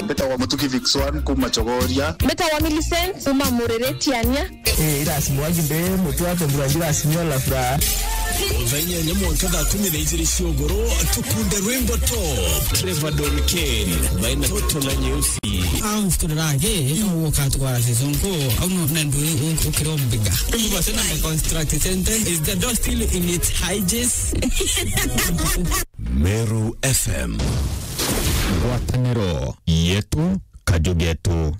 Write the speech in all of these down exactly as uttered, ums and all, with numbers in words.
Mbetagwa Mutuki Vixwan kuma Chogoria. Mbetagwa Millicent kuma Mureretiania. Eh, irasi mwangi mbe mutu wa tembura njira sinyo la furaha. Thaa inyanya mwanka thaa kumi na ijiri cia ugoro, tukunde rwimbo top. Trevor Don Kane, baina toto na nyeusi. Au story rage, ita uka twara season ko, au no, na ndu u-, ukiro mbiga. Uba tena construct sentence, is the door still in its hinges? Meru F M. Ngwataniro yetu, kaju getu.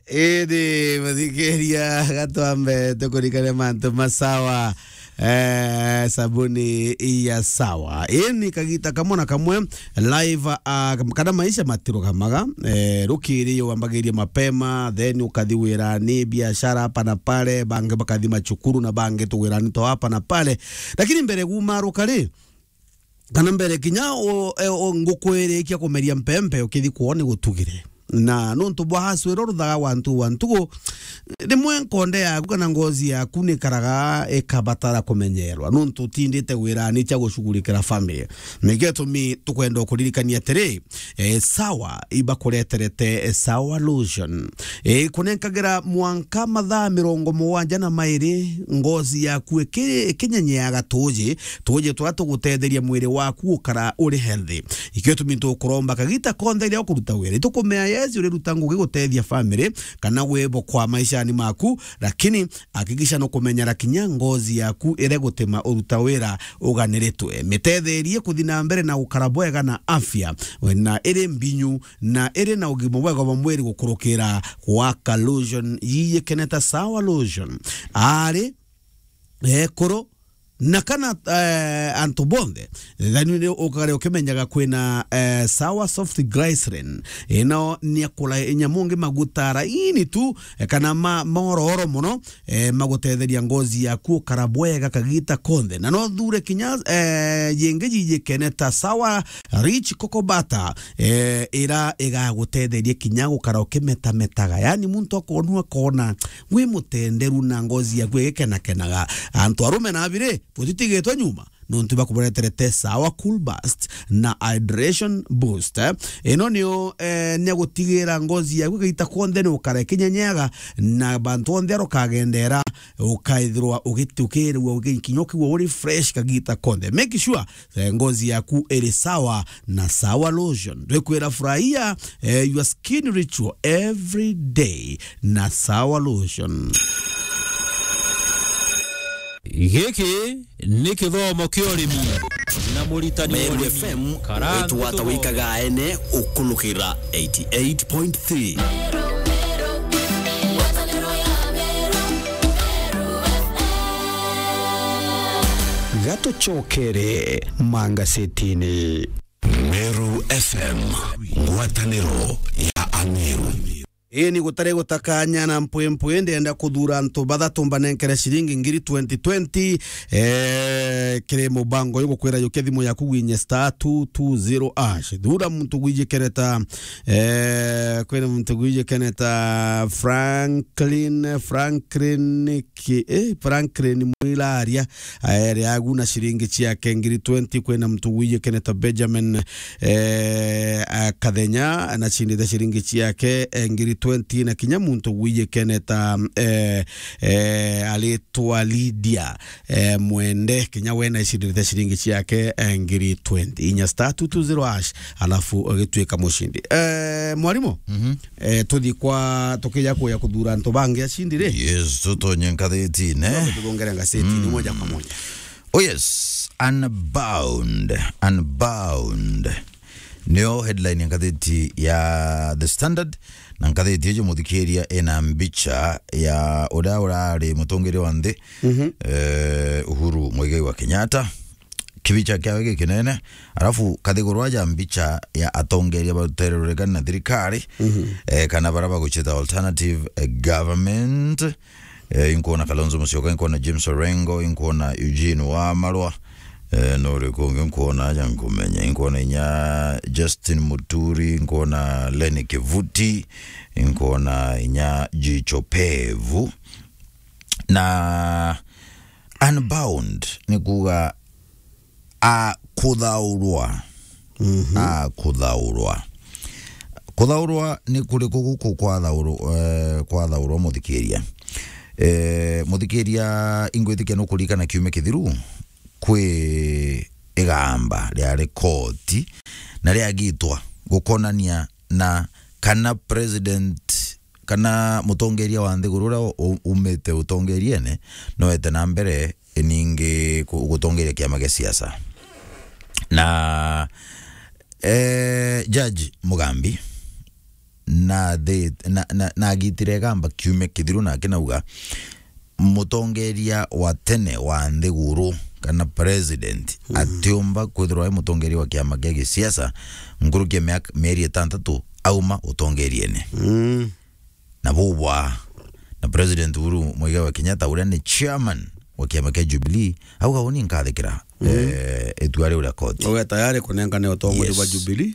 Indi muthikiria, gatwambe tukurikane mantu masawa, eh, sabuni ya sawa. Ii ni kagita kamwe na kamwe live, ah, kana maisha matirugamaga, eh, rukiri wambagiria mapema, then ukathi wirani, biashara hapa na pale, bangi bakathi macukuru na bangi tu wirani to hapa na pale. Lakini mbere gumaruka ri, kana mbere kinya o, e, o, nguku irikia kumeria mpempe, ukithi kwoo ni gutugire. Na nontu bwa haswiro ruthaga wa ntu wa ntugu, rimwe nkonde yaku kana ngozi yaku ni karaga ikabatara kumenyerwa, nontu utindite wirani cia gucugurikira family. Nikio gitumi tukwenda kuririkania atiri, eh, Sawa ibakureterete, eh, Sawa Lotion. Eh, ikunenkagira mwanka mathaa mirongo mugwanja na mairi, ngozi yaku iki-, ikinyenyeaga tuuji, tuuji turia tugutetheria mwiri waku gukara uri healthy. Ikio gitumi tukuromba kagita konthe riria ukuruta wira. Itukumea yes uriruta ngugi gutethia family kana wibokwa maishani maku, lakini hakikisha nukumenyera kinya ngozi yaku iria gutima uruta wira uganiritwe. Mitetherie kuthi na mbere na gukara bwega na afya, na iri mbinyu, na iri na ugima bwega bwa mwiri gukurukira gwaka Lotion yiyikene ta Sawa Lotion. Ari, ekuru, na kana, eh, antu bonthe, thani ni ukare ukimenyaga kwina, eh, Sawa Soft Glycerin. Ino ni akura nyamu ngi maguta laini tu, eh, kana ma-, mororo mono, eh, magutetheria ngozi yaku ukara bwega kagita konthe. Na no thure kinya, eh, yingi yiyikene ta Sawa Rich Cocoa Butter, eh, ira igagutetheria kinya gukara ukimetametaga. Yani muntu akonua akona wi mutenderu na ngozi yaku igikenakenaga. Antu arume na abiri, butitigitwe nyuma. Nontu bakubureterete Sawa Cool Burst na Hydration Boost. Ino niyo, eh, niagutigira ngozi yaku igita konthe ni ukara ikinyenyeaga na bantu onthe aria ukagendera ukaithirwa ugiti-, ukirigua ugi-, kinya ukigua uri fresh kagita konthe. Make sure, eh, ngozi yaku iri sawa na Sawa Lotion. Twikwira furahia, eh, your skin ritual every day na Sawa Lotion. Giki ni kithomo kia urimi na muritani wa Meru urimi, F M, Karanja witwata Kithomo. Wikaga ene ukulukira eighty eight point three. Gatucokere mangasetini. Meru F M, ngwataniro ya Ameru. Ii ni gutari gutakanya na mpwimpwi, ndienda kuthura antu bathatu mbanenkere ciringi ngiri twenty twenty, eh, kiri mubango uyu gukwira yukia thimu yaku gwinye star two two zero hash. Thura muntu gwijikene ta, eh, kwina muntu gwijikene ta Franklin, Franklin ki, eh, Franklin Mwilaria, aere agu na ciringi ciake ngiri twenty. Kwina muntu gwijikene ta Benjamin, eh, a Kathenya, anacindite ciringi ciake, eh, ngiri twenty, na kinya muntu gwijikene ta, eh, eh, aritwa Lydia, eh, Mwende, kinya we nacindite ciringi ciake, eh, ngiri twenty. Inya star two two zero hash, alafu ugituika mucindi. Eh, mwarimu, mhm, eh, tuthi kwa, tukija kuya kuthura antu bangi acindi ri? Yes, tutonye ngathitine. Tuthongere ngathitine, mm, moja kwa moja. Oh yes, Unbound, Unbound. Niyo headline ya ngathiti ya The Standard, na ngathiti ijo muthikiria ina mbicha ya uria urari mutongeria wa nthi, mhm, eh, Uhuru Muigai wa Kenyatta. Kibicha kiawe gikinene, alafu kathiguru aja mbicha ya atongeria batere ruregani na thirikari, mhm, eh, kana bara baguchita alternative, eh, government. Eh, inkuona Kalonzo Musyoka, inkuona James Orengo, inkuona Eugene Wamalwa. Eh, no uriku ungi nkuona aja nkumenya? Inkuona inya Justin Muturi, inkuona Lenny Kivuti, inkuona inya Jicho Pevu. Na Unbound ni kuuga a kuthaurwa. Mhm. Akuthaurwa. Kuthaurwa ni kuriku guku kwathaurwa, eh, kwathaurwa, muthikiria? Eh, muthikiria, ingwitikia nukuririkana kiumia kithiru, kwi igamba riari koti na riagitwa gukonania na kana president, kana mutongeria wa nthiguru uria u-, umite utongeriene, noete na mbere ningi ku-, gutongeria kiama gia siasa. Na, eh, Judge Mugambi na thi-, na, na, na agitire igamba kiumia kithiru, na akinauga mutongeria wa tene wa nthiguru kana president, mhm, atiumba kwithirwa e mutongeria wa kiama gia gisiasa nkuruki ya miaka, mieri itantatu auma utongeriene. Mm. Na bubwa na President Uhuru Muigai wa Kenyatta, uria ni chairman wa kiama kia Jubilee, auga, "Uni nkathikira, mhm, eh, itua riu ria koti." Uge tayari kunenkane utongoria bwa, yes, Jubilee.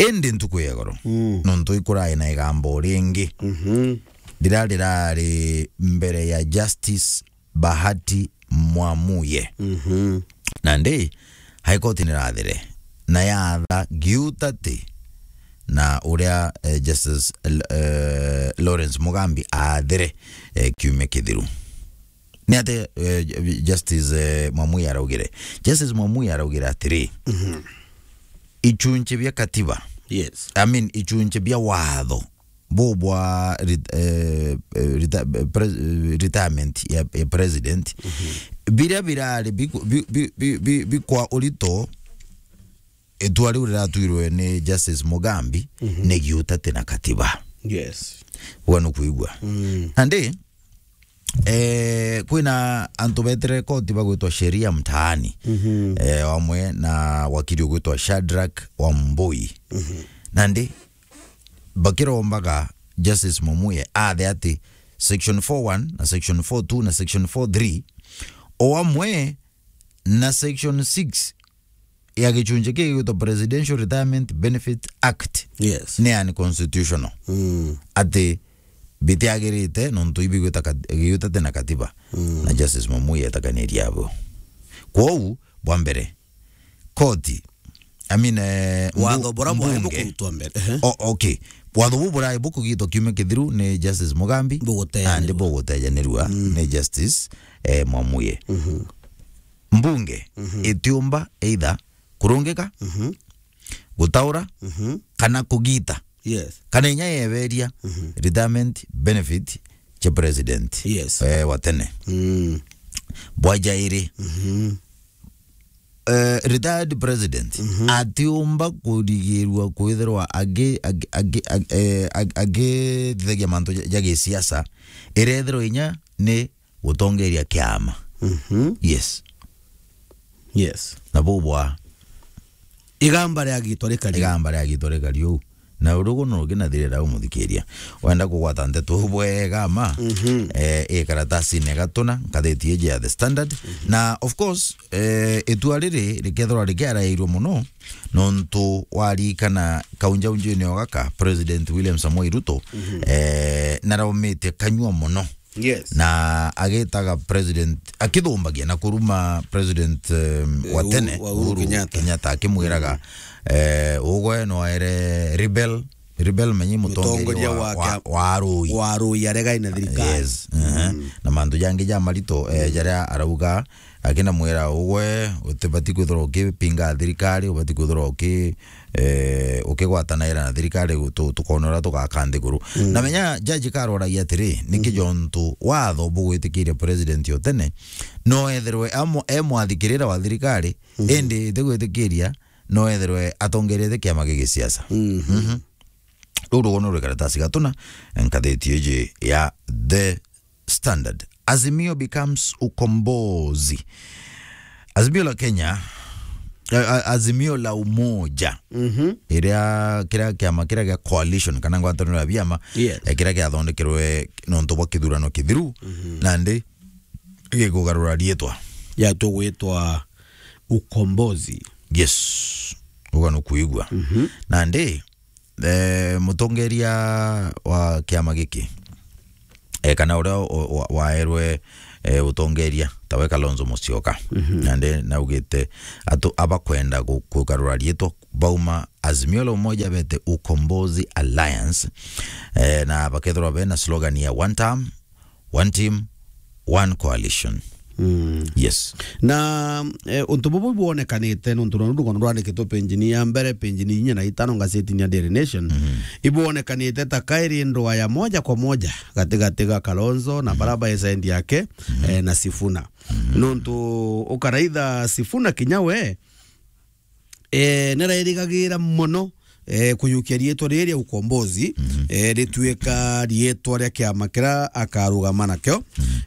Indi ntuku ya igoro, mm, nontu ikurai na igambo ringi, mhm, rira rirari mbere ya Justice Bahati Mwamuye. Mhm. Nandi, High Court nirathire na yatha Giutati na uria, eh, Justice, eh, Lawrence Mugambi aathire, eh, kiumia kithiru. Ni atia, eh, Justice, eh, Mwamuye araugire? Justice Mwamuye araugire atiri, mhm, ichunchi bia katiba, yes, I mean, ichunchi bia watho bubwa ret-, eh, eh, reta-, eh, pre-, eh, retirement ya, ya president, mhm, biria birari biku-, bi-, bi-, bi-, bi-, bikwa urito, itua riu riratwirwe ni Justice Mugambi, mhm, ni Giutati na katiba. Yes. Uga nukwigua? Mm. Nandi, eh, kwina antu betere koti bagwitwa Sheria Mtaani, mhm, eh, amwe na wakili ugwitwa Shadrack Wambui. Mhm. Nandi, bakirombaga Justice Mwamuye athe ati section four one na section four two na section four three, o amwe na section six ya gichunchi kii gigwitwa Presidential Retirement Benefit Act, yes, ni unconstitutional. Mm. Ati bitiagirite nontu ibigwita kat-, Giutati na katiba. Mm. Na Justice Mwamuye etakaniria abo. Kwou, bwa mbere, koti, I mean, eh, watho mbu-, bura bwari mbunge bukurutwa mbere. Ehe. O-, okay. Watho bu burai bukugitwa kiumia kithiru ni Justice Mugambi, bugutejanirua, nandi bugutejanirua, mm, ni Justice, eh, Mwamuye. Mhm. Mbunge, mhm, itiumba either kurungika, mhm, gutaura, mhm, kana kugita, yes, kana inya yeberia, mhm, retirement benefit cia president, yes, eh, wa tene. Mm. Bwa jairi, mhm, eh, retired president, mhm, atiumba kurigirua kwithirwa agi-, agi-, agi-, ag-, eh, ag-, agithithagia mantu ja, ja gisiasa, irethirwa inya ni gutongeria kiama. Mhm. Yes. Yes. Na bubwa. Igamba riagitwa rikari. Igamba riagitwa rikari uu. Na urugu no ruginathirira umuthikiria. Wenda kugwata nteto bwega ma, mhm, eh, i karatasini gatuna, ngathiti iji ya The Standard. Mhm. Na of course, eh, itua riri rikethirwa rikiarairwe muno, nontu warikana kaunjaunjini o gaka, President William Samoei Ruto, mhm, eh, naraumite kanyua muno. Yes. Na agitaga president, akithumbagia na kuruma president, um, wa tene, Uhuru, Uhuru Kenyatta. Kenyatta, akimwiraga, mm, eh, ugwe no ere rebel, rebel menye mutongeria, mutongeria wa, wa kia-, wa, wa arui. Wa arui, aregai na thirikari. Yes, mhm. Mm. Na mantu jangi ja marito, eh, mm, jaria arauga, akinamwira, ugwe utibati kwithirwa ukipinga thirikari, ubati kwithirwa uki-, eh, ukigwatanaira na thirikari, tu-, tukona uria tugaka nthiguru. Mm. Na menya jaji karoragia atiri, niki, mhm, jontu watho bugwitikiria president o tene, no ethirwe amo-, e mwathikirira wa thirikari, mhm, indi itigwitikiria, no ethirwe atongerete kiama gia gisiasa. Mhm. Mhm. Ruu rugono rwi karatasi gatuna, ngathiti iji ya The Standard. Azimio becomes Ukombozi. Azimio la Kenya, eh, a-, Azimio la Umoja. Mhm. Iria, kiria kiama kiria gia coalition, kana ngwataniro ya biama, yes, eh, kiria giathondekerwe nontu bwa kithurano kithiru, mhm, nandi gikugarura riitwa. Ya tugwitwa Ukombozi. Yes. Uga nukuigua. Mhm. Nandi, eh, mutongeria wa kiama giki, eh, kana uria wa-, wa-, waerwe, eh, utongeria, tawe Kalonzo Musyoka. Mhm. Nandi naugite atu abakwenda gu-, kugarura riitwa bauma Azimio la Umoja bete Ukombozi Alliance, eh, na bakethirwa bena slogan ya one term, one team, one coalition. Mm. Yes. Na, eh, untu bubu ibwonekanite nuntu nondu rugono rwandikitwe page-ini ya mbere, page-ini inya na itano ngazetini ya Daily Nation, ibwonekanite ta kairi ndwa ya moja kwa moja gatigati ga Kalonzo na bara ba side yake, eh, na Sifuna. Nuntu ukaraitha Sifuna kinya we, eh, narairigagira mono, eh, kuyukia riitwa riri ria Ukombozi, eh, rituika riitwa ria kiama kiria akarugama nakio,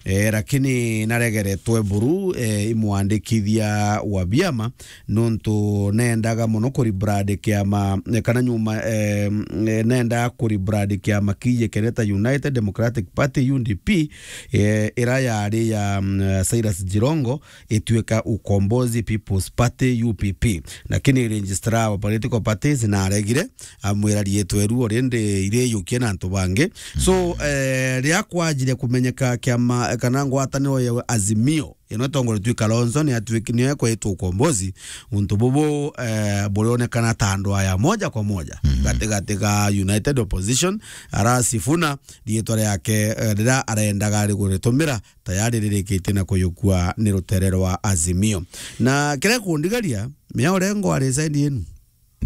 eh, lakini naregeretwe buru, eh, imwandikithia wa biama, nuntu nendaga mono kuribrand kiama, eh, kana nyuma, eh, eh, nendaga kuribrand kiama kiijikene ta United Democratic Party, U D P, eh, ira yari ya, mm, Cyrus Jirongo, ituika Ukombozi People's Party, U P P. Lakini registrar wa political parties naregire, amwira riitwa iru already iriyukie na antu bangi. So, eh, riria kwajire kumenyeka kiama kana ngwataniro ya Azimio, ino itongoretue Kalonzo, ni atuiki-, ni ekwetwa Ukombozi, untu bubu, eh, burionekana ta ndwa ya moja kwa moja gatigati ga United Opposition, ara Sifuna, riitwa riake, eh, riria arendaga ari kuritumira, tayari ririkitie na kuyukua ni rutere rwa Azimio. Na kiria kundigaria, mea urengo ari side yenu.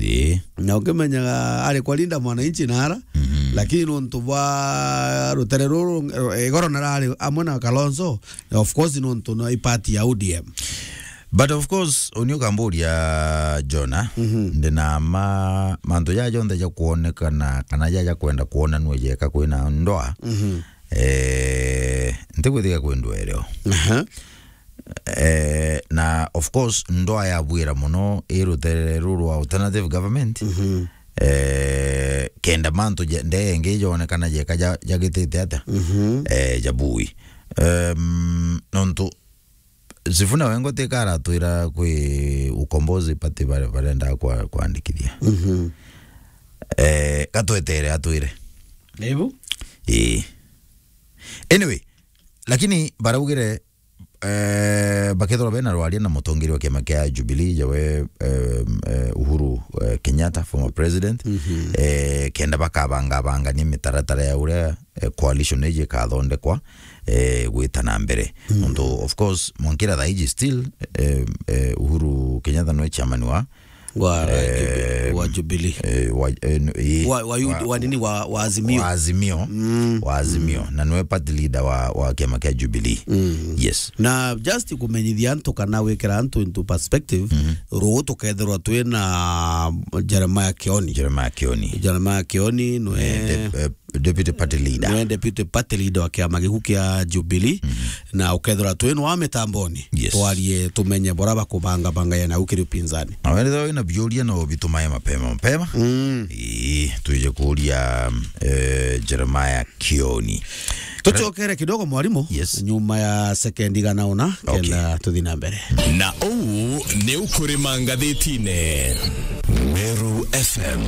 Ii. Na ukimenyaga ari kwa Linda Mwananchi na ara, lakini nuntu bwa rutere ruru, eh, igoro narari amwe na Kalonzo, of course nuntu no i party ya O D M. But of course, uni ukamburia, Jona, ndina ma, mantu jaja jonthe ja kuonekana kana jaja kwenda kuonanua jeka kwina ndoa, eh, ntigwitikia kwi ndwa irio. Aha. Eh, na of course, ndoa ya bwira mono i rutere ruru rwa alternative government. Eh, kenda mantu ja, ndee ingi jonekana jeka ja, jagitite atia? Eh, jabui. Em, nontu Sifuna wengo tika aratwira kwi Ukombozi Party bare-, barenda kwa-, kwandikithia. Eh, gatwetere atwire. Nibu? Ii. Anyway, lakini baraugire, eh, bakethirwa bena rwaria na mutongeria wa kiama kia Jubilee, jawe, eh, eh, Uhuru, eh, Kenyatta, former president, eh, kenda bakabanga bangania mitaratara ya uria, eh, coalition iji ikathondekwa, eh, gwita na mbere. Nontu, of course, mwankira thaa iji still, eh, eh, Uhuru Kenyatta nwe chairman wa, wa, eh, Jubi-, wa Jubilee. Eh, wa, eh, n-, ii, wa, wa, wa, wa nini? Wa, wa Azimio. Wa Azimio. Wa Azimio. Na nwe party leader wa, wa kiama kia Jubilee. Yes. Na just kumenyithia antu kana gwikira antu into perspective, ruu tukethirwa twina Jeremiah Kioni. Jeremiah Kioni. Jeremiah Kioni nwe, eh, dep-, eh, deputy party leader. Nwe deputy party leader wa kiama giku kia Jubilee, na ukethirwa twi nwa mitamboni. Yes. Twarie tumenye bora bakubanga banga ya nau kiri upinzani. Na wethirwa wina biuria no bitumae mapema mapema. Ii, twije kuuria, eh, Jeremiah Kioni. Tucokere kidogo, mwarimu. Yes. Nyuma ya sekendi igana una, okay, kenda tuthi na mbere. Na uu ni ukurima ngathitine. Meru F M,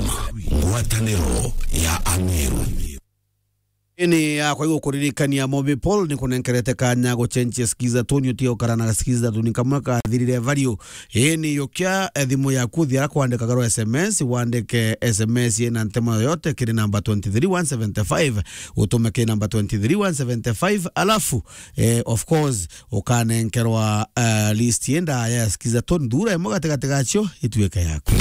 ngwataniro ya Ameru. Ini yakwa igukuririkania Mobi Paul ni kunenkerete kanya gucenjia Skiza Tone, utigukara na Skiza Tone kamwe kathirire value. Ini yukia, eh, thimu yaku, thia kwandikaga rwa S M S, wandike S M S ina ntemo yoyote kiri namba twenty three one seventy five, utume kiri namba twenty three one seventy five, alafu, eh, of course, ukanenkerwa, eh, list yenda ya Skiza Tone, thura imwe gatigati gacio ituike yaku.